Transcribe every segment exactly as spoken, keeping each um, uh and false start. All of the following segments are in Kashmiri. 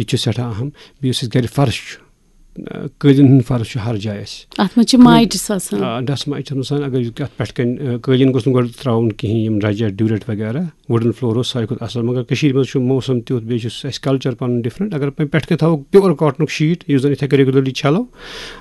یہِ تہِ چھُ سٮ۪ٹھاہ اہم۔ بیٚیہِ یُس اَسہِ گَرِ فرٕش چھُ، آ، قٲلیٖن ہُنٛد فرٕش چھُ ہر جایہِ اَسہِ۔ اَتھ منٛز چھِ مایٹِس آسان۔ آ، ڈسٹ مایٹِس آسان۔ اگر یہِ اَتھ پٮ۪ٹھ کَنہِ، آ، قٲلیٖن گوٚژھ نہٕ گۄڈٕ ترٛاوُن کِہیٖنۍ، یِم رَجہِ، ڈیوٗرٮ۪ٹ وغیرہ، وُڈن فلور اوس ساروی کھۄتہٕ اَصٕل۔ مگر کٔشیٖرِ منٛز چھُ موسم تیُتھ، بیٚیہِ چھُ اَسہِ کلچر پَنُن ڈِفرنٹ۔ اگر وۄنۍ پٮ۪ٹھ کَنہِ تھاوو پیور کاٹنُک شیٖٹ، یُس زَن یِتھَے کٔنۍ ریگولرلی چھَلو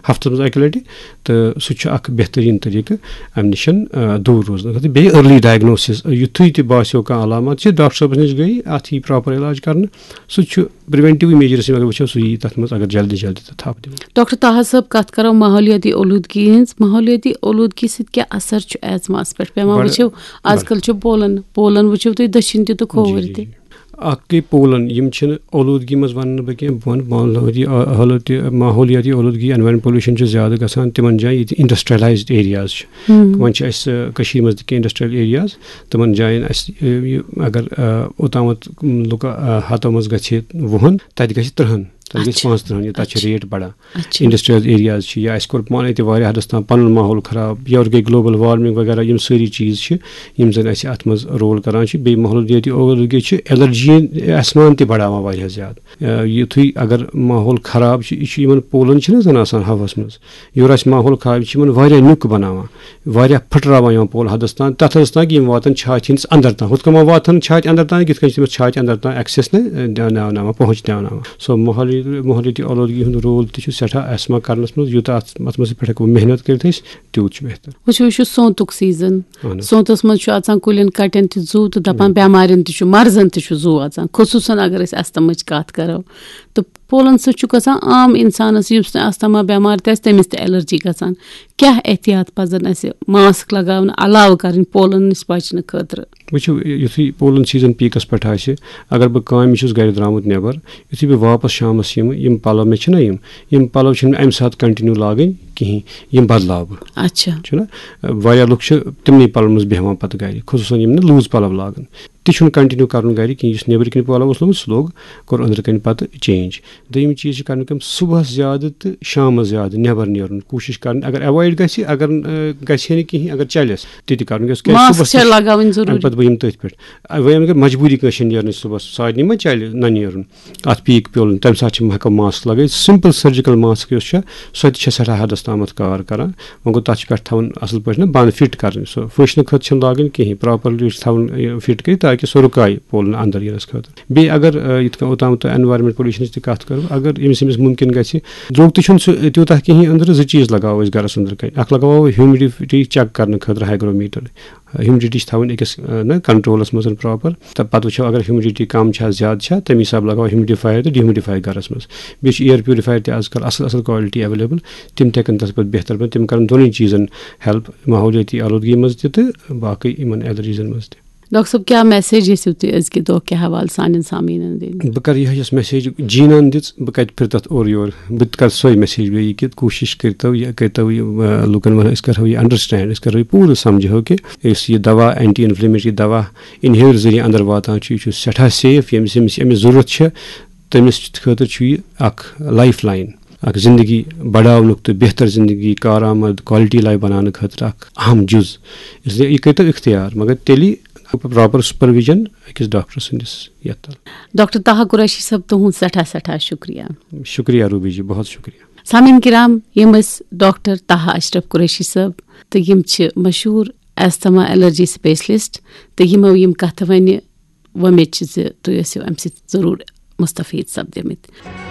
ہفتَس منٛز اَکہِ لَٹہِ، تہٕ سُہ چھُ اَکھ بہتریٖن طریٖقہٕ اَمہِ نِش، آ، دوٗر روزنہٕ خٲطرٕ۔ بیٚیہِ ارلی ڈائگنوسس، یُتھُے تہِ باسیو کانٛہہ علامات چھِ، ڈاکٹر صٲبَس نِش گٔے، اَتھ یی پراپر علاج کرنہٕ، سُہ تہِ چھُ پریونٹیو میجرس، اگر وٕچھو، سُہ یی تَتھ منٛز، اگر جلدی جلدی تہٕ تھپھ دِمو۔ ڈاکٹر طاہر صٲب، کتھ کرو ماحولیاتی اولودگی ہٕنٛز، ماحولیاتی اولودگی سۭتۍ کیٛاہ اثر چھُ ایزماہس پٮ۪ٹھ پٮ۪وان؟ بڑٕ، وٕچھو، آز کل چھُ پولن، پولن وٕچھو تُہۍ، دٔچھِنۍ تہِ تہٕ کھووُر جی، تہِ۔ جی۔ اکھ گٔے پولن، یِم چھِنہٕ اولودگی منٛز ونہٕ نہٕ بہٕ کینٛہہ، بہٕ وَنہٕ ماحولیاتی، حالت، ماحولیاتی اولودگی، انوائرمنٹ پولوشن چھُ زیادٕ گژھان تِمن جاین، ییٚتہِ انڈسٹریلایزڈ ایریاز چھِ۔ ہم۔ وۄنۍ چھِ اَسہِ، آ، کٔشیٖرِ منٛز تہِ کینٛہہ انڈسٹریل ایریاز، تِمن جاین اَسہِ، آ، یہِ اگر، آ، اوٚتامَتھ لُکہٕ، آ، ہَتو منٛز گژھِ وُہَن، تَتہِ گژھِ تٕرٛہَن، تَتہِ گژھِ اچھا۔ پانٛژھ تٕرٛہَن، یہِ تَتہِ چھِ اچھا۔ ریٹ بڑان۔ اچھا۔ انڈسٹریل ایریاز چھِ، یا اَسہِ کوٚر پانَے تہِ واریاہ حدس تام پَنُن ماحول خراب، یورٕ گٔے گلوبل وارمنگ وغیرہ، یِم سٲری چیٖز چھِ، یِم زَن اَسہِ اَتھ منٛز رول کران چھِ۔ بیٚیہِ ماحولیٲتی اولوٗدگی چھِ الرجی آسمان تہِ بڑاوان واریاہ زیادٕ۔ آ، یُتھُے اگر ماحول خراب چھُ، یہِ چھُ یِمن پولن چھِنہٕ زَن آسان ہوہَس منٛز، یورٕ آسہِ ماحول خراب، یہِ چھِ یِمن واریاہ نیُک بَناوان، واریاہ پھٕٹراوان یِوان پول حدس تام، تَتھ حدس تام کہِ یِم واتن چھاتہِ ہِنٛدِس اندر تام۔ ہُتھ کٔنۍ ما واتن چھاتہِ اندر تام، یِتھ کٔنۍ چھِ تٔمِس چھاتہِ اندر تام ایکسیس نہٕ، آ، دیاوناوناوان، پہنچ دیاوناوان۔ سو ماحولی-، ماحولیٲتی آلودگی ہُنٛد رول تہِ چھُ سٮ۪ٹھاہ ایسما کرنس منٛز، یوٗتاہ اتھ، اتھ منٛز پٮ۪ٹھ ہٮ۪کو محنت کٔرِتھ أسۍ، تیوٗت چھُ بہتر۔ وٕچھِو، یہِ چھُ سونتُک سیزن۔ اہن حظ۔ سونتس منٛز چھُ اژان کُلٮ۪ن کٹٮ۪ن تہِ زُو تہٕ دپان، بِلکُل۔ بٮ۪مارٮ۪ن تہِ چھُ، مرضن تہِ چھُ زُو اژان، خصوٗصن اگر أسۍ استماہٕچ کتھ کرو۔ تہٕ پولن سۭتۍ چھُ گژھان عام انسانس، یُس نہٕ استما بٮ۪مار تہِ آسہِ، تٔمِس تہِ الرجی گژھان۔ کیٛاہ احتیاط پزن اسہِ ماسک لگاونہٕ علاوٕ کرٕنۍ پولن نِش بچنہٕ خٲطرٕ؟ وٕچھِو، یُتھُے پولن سیزن پیٖکس پٮ۪ٹھ آسہِ، اگر بہٕ کامہِ چھُس گرِ درٛامُت نٮ۪بر، یُتھُے بہٕ واپس شامس یِمہٕ، یِم پلو مےٚ چھِنہ یِم، یِم پلو چھِنہٕ مےٚ امہِ ساتہٕ کنٹِنیو لاگٕنۍ کِہینۍ، یِم بدلاو بہٕ۔ اچھا۔ چھُنہ؟ واریاہ لُکھ چھِ تِمنٕے پلون منٛز بیٚہوان پتہٕ گرِ، خصوٗصن یِم نہٕ لوٗز پلو لاگان۔ تہِ چھُنہٕ کنٹِنیو کرُن گرِ کینٛہہ۔ یُس نیٚبرٕ کِنۍ پلو اوس لوگمُت، سُہ لوگ، کوٚر أنٛدرٕ کَنہِ پتہٕ چینج۔ دوٚیِم چیٖز چھِ کرٕنۍ کٲم، صُبحس زیادٕ تہٕ شامس زیادٕ نٮ۪بر نیرُن کوٗشِش کرٕنۍ۔ اگر ایوایڈ گژھِ، اگر، آ، گژھِ ہے نہٕ کِہینۍ، اگر چلٮ۪س، تہِ تہِ کرُن۔ کیٛازِ کہِ ماسک صُبحس چھےٚ تہِ چھِ، لگاوٕنۍ ضروٗری۔ اَمہِ پتہٕ بہٕ یِمہٕ تٔتھۍ پٮ۪ٹھ۔ آ، وۄنۍ اگر مجبوٗری کٲنٛسہِ چھےٚ نیرنٕچ صُبحس، سارنٕے ما چلہِ نہ نیرُن؟ اَتھ پیٖک پیوٚل، تَمہِ ساتہٕ چھِ ہٮ۪کو ماسک لگٲوِتھ۔ سمپل سرجیکل ماسک یۄس چھےٚ، سۄ تہِ چھےٚ سٮ۪ٹھاہ حدس تامتھ کار کران۔ وۄنۍ گوٚو، تَتھ چھِ پٮ۪ٹھ تھاوُن اَصٕل پٲٹھۍ نہ بنٛد، فِٹ کَرٕنۍ۔ سۄ پھٕشنہٕ خٲطرٕ چھَنہٕ لاگٕنۍ کِہیٖنۍ، پراپرلی چھِ تھاوُن یہِ فِٹ کٔرِتھ، تاکہِ سۄ رُکایہِ پولن اندر یِنَس خٲطرٕ۔ بیٚیہِ اگر، آ، یِتھ کٔنۍ اوٚتام تہٕ انوائرمنٹ پولوشنٕچ تہِ کَتھ کَرو، اگر ییٚمِس، ییٚمِس مُمکِن گژھِ، درٛوگ تہِ چھُنہٕ سُہ تیوٗتاہ کِہیٖنۍ أنٛدرٕ، زٕ چیٖز لگاوو أسۍ گرَس أنٛدرٕ کَنہِ۔ اَکھ لگاوو ہیومڈیٹی چیک کرنہٕ خٲطرٕ ہائیگرومیٹر۔ ہیومڈیٹی چھِ تھاوٕنۍ أکِس، آ، نہ، کنٹرولَس منٛز پراپر، تہٕ پَتہٕ وٕچھو اگر ہیومڈیٹی کَم چھا زیادٕ چھا، تَمہِ حساب لگاوو ہیومڈیفایَر تہٕ ڈیومڈیفایَر گرَس منٛز۔ بیٚیہِ چھِ ایئر پیوریفایَر تہِ آز کَل اَصٕل اَصٕل کوالٹی ایویلیبل، تِم تہِ ہٮ۪کَن تَتھ پٮ۪ٹھ بہتر بٔنِتھ۔ تِم کَرَن دۄنٕے چیٖزَن ہیلپ، ماحولیٲتی آلودگی منٛز تہِ تہٕ باقٕے یِمَن الرجیٖزَن منٛز تہِ۔ ڈاکٹر صٲب، کیٛاہ میسیج یژھِو تُہۍ أزکہِ دۄہ کہِ حوالہٕ سانٮ۪ن سامعیٖنَن دِنۍ؟ بہٕ کَرٕ یِہوٚے یۄس میسیج جیٖنَن دِژ، بہٕ کَتہِ پھِرٕ تَتھ اورٕ یورٕ، بہٕ تہِ کَرٕ سۄے میسیج بیٚیہِ کہِ کوٗشِش کٔرۍتو، یہِ کٔرۍتو یہِ، آ، لُکَن وَنو، أسۍ کَرہو یہِ انڈرسٹینڈ، أسۍ کَرو یہِ پوٗرٕ سَمجھو کہِ یُس یہِ دوا، اینٹی انفلیمیٹری دوا، انہیلر ذٔریعہٕ اندر واتان چھُ، یہِ چھُ سٮ۪ٹھاہ سیف، ییٚمِس، ییٚمِس أمِس ضروٗرت چھِ، تٔمِس خٲطرٕ چھُ یہِ اکھ لایف لائن، اکھ زندگی بڑاونُک تہٕ بہتر زندگی، کارآمد، کوالٹی لائف بناونہٕ خٲطرٕ اکھ اہم جُز۔ اس لیے یہِ کٔرۍتو اختیار، مگر تیٚلی پراپر سپرویژن أکِس ڈاکٹر سٕنٛدِس یتھ تل۔ ڈاکٹر طاہر قریشی صٲب، تُہُنٛد سٮ۪ٹھاہ سٮ۪ٹھاہ شُکریہ۔ شُکریہ روبی جی، بہت شُکریہ۔ سامعین کرام، یِم ٲسۍ ڈاکٹر طاہر اشرف قریشی صٲب، تہٕ یِم چھِ مشہوٗر ایستھما الرجی سپیشلسٹ، تہٕ یِمو یِم کتھٕ ونہِ، وۄمید چھِ زِ تُہۍ ٲسِو امہِ سۭتۍ ضروٗر مستفید سپدیمٕتۍ۔